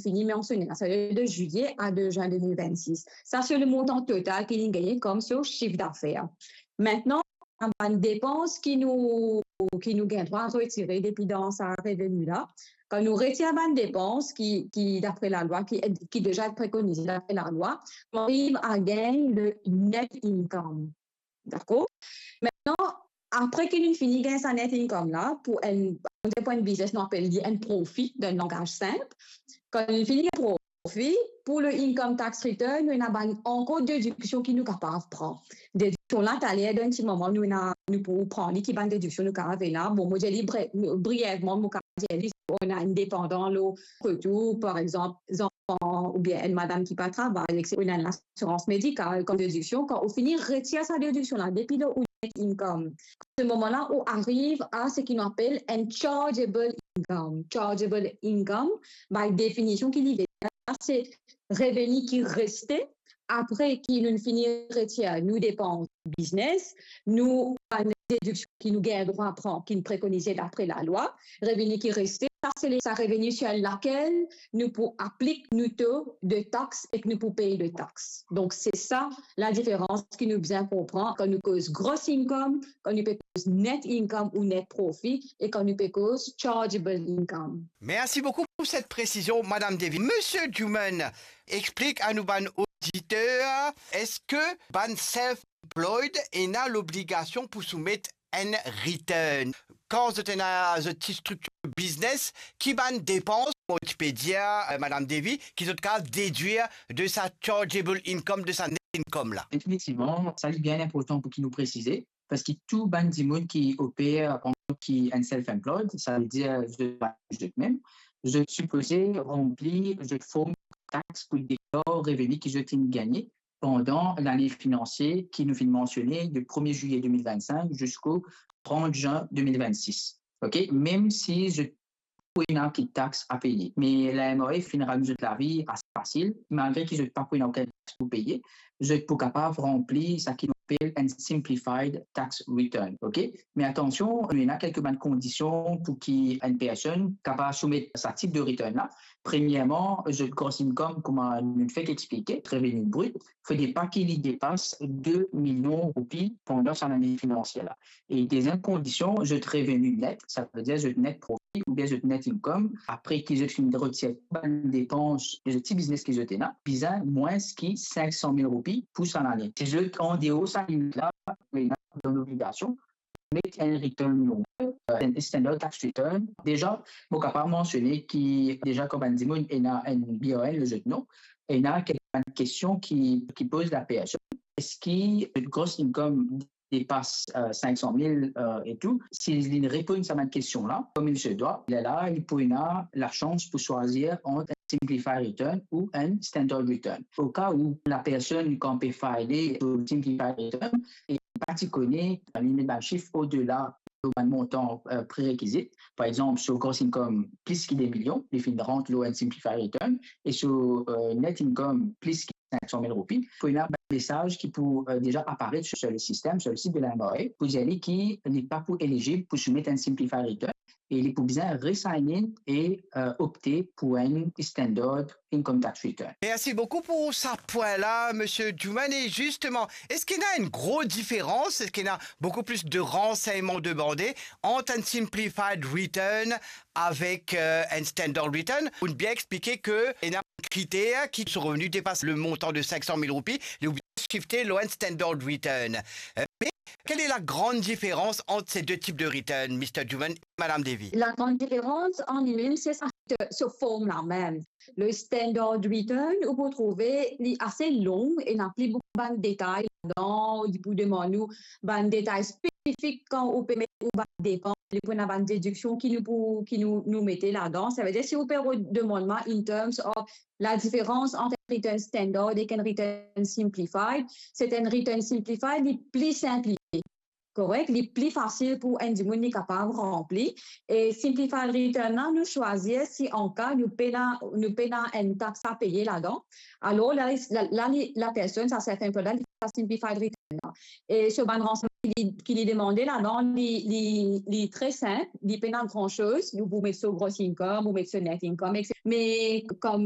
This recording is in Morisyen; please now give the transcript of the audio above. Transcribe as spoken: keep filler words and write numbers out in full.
fini mansione la, setadir de zilye a de zin de mil vennsis. Sa se le montan total ki li gagne kom so sif dafer. Aster, bann depans ki nou, ki nou gagn drwa retire depi dan sa reveni la, kan nou retir bann depans ki, ki dapre lalwa, ki, ki deza prekonize dapre lalwa, nou ariv a gagn le net income. Dakor? Aster, apre ki nou fini gagn sa net income la, pou enn, pou enn biznes, nou apel li enn profi, dan langaz sinp. Kan nou fini gagn profi, pou le income tax return, nou ena bann ankor dediksion ki nou kapav pran. Dediksion la, taler, dan enn ti moman, nou ena, nou pou pran li, ki bann dediksion nou kapav ena. Bon, mo dir li bre-, briyevman, mo kapav dir li, si ou ena enn depandan lor kot ou, par exanp, zanfan oubien enn madam ki pa travay, etsetera, ou ena enn lasirans medikal kom dediksion, kan ou fini retir sa dediksion la depi dan ou net income, se moman la ou ariv a seki nou apel enn chargeable income. Chargeable income, by definition, ki li vini, se reveni ki reste apre ki nou fini retir nou depans biznes, nou bann dediksion ki nou gagn drwa pran, ki prekonize dapre lalwa, reveni ki reste, sa se le, sa reveni sir lakel nou pou aplik nou to de tax ek nou pou pey de tax. Donk, se sa ladiferans ki nou bizin konpran kan nou koz gross income, kan nou pe koz net income ou net profi, e kan nou pe koz chargeable income. Merci beaucoup pour cette précision, Madame Devi. Monsieur Duman, explique à nous, bann auditeur, eski bann self-employed ena lobligasion pou soumet enn return? Kan zot ena zot ti striktir biznes, ki bann depans, mo ti pe dir, euh, Madame Devi, ki zot kapav dedwir de sa chargeable income, de sa net income la? Definitivman, sa li bien inportan pou ki nou presize, parski tou bann dimoun ki oper antan ki enn self-employed, savedir zot, zot mem, zot sipoze ranpli zot form tax pou deklar reveni ki zot inn gagne pandan lane finansie ki nou finn mansione, de premie zilye de mil vennsenk ziska trant zin de mil vennsis. Ok? Mem si zot pou ena ki tax a peye. Me la M R A finn rann zot lavi ase fasil, malgre ki zot pa pou ena okenn tax pou peye, zot pou kapav ranpli seki nou apel enn simplified tax return. Ok? Me atansion, nou ena kelke bann kondision pou ki enn personn kapav soumet sa tip de return la. Premierman, zot gross income, kouma nou fek explike, reveni brit, fode pa ki li depas de milion roupi pandan sa lane finansie la. E deziem kondision, zot reveni net, savedir zot net profi oubien zot net income, apre ki zot finn retir bann depans de zot ti biznes ki zot ena, bizin mwins ki sink san mil roupi pou sa lane. Si zot andeor sa limit la, zot ena dan lobligasion met enn return normal, euh, enn standard tax return. Deza, mo kapav mansione ki deza kan bann dimoun ena enn B R N lor zot non, ena kelke bann kestion ki, ki poz lapersonn, eski gross income depas, euh, sink san mil, euh, e tou, si li reponn sa bann kestion la, comme il se doit, lerla, li pou ena lasans pou swazir ant enn simplified return ou enn standard return. Oka ou lapersonn, kan pe file so simplified return, e pa ti kone, li met bann sif odela lor bann montan, euh, prerekizit. Par exanp, so gross income plis ki de milion, li finn rant lor enn simplified return, e so, euh, net income plis ki sink san mil roupi, pou ena bann mesaz ki pou, euh, deza aparet sur, sur le sistem, sur le sit de la M R A, pou dir li ki li pa pou elizib pou soumet enn simplified return, e li pou bizin re-sign in e, euh, opte pou enn standard income tax return. Merci beaucoup pour sa pwin la, Monsieur Duman. Et justement, eski ena enn gro diferans, eski ena beaucoup plus de renseignements demandés entre un simplified return avec, euh, un standard return? Ou bien expliquer que ena kriter ki so reveni depas le montan de sink san mil roupi, li oblize shifte lor enn standard return. Euh, mais quelle est la grande différence entre ces deux types de return, Mister Duman et Madame Devi? La gran diferans an li mem, se sa, se form la mem. Le standard return, ou pou trouve li ase long e ena pli boukou bann detay ladan, li pou demann ou bann detay spesifik kan ou pe met ou bann depans, li pou ena bann dediksion ki nou pou, ki nou, nou mete ladan. Savedir, si ou pe demann mwa in terms of la diferans ant enn return standard ek enn return simplified, se enn return simplified, li pli sinplifie. Korek? Li pli fasil pou enn dimoun li kapav ranpli. E simplified return la, nou swazir si an ka nou pena, nou pena enn tax a peye ladan. Alor la, la, la, li, lapersonn, sa self-employed la, li fer simplified return E so bann ransegneman ki li, ki li demande ladan, li, li, li tre sinp, li pena gran soz, ou pou met so gross income, ou met so net income, etsetera. Me kom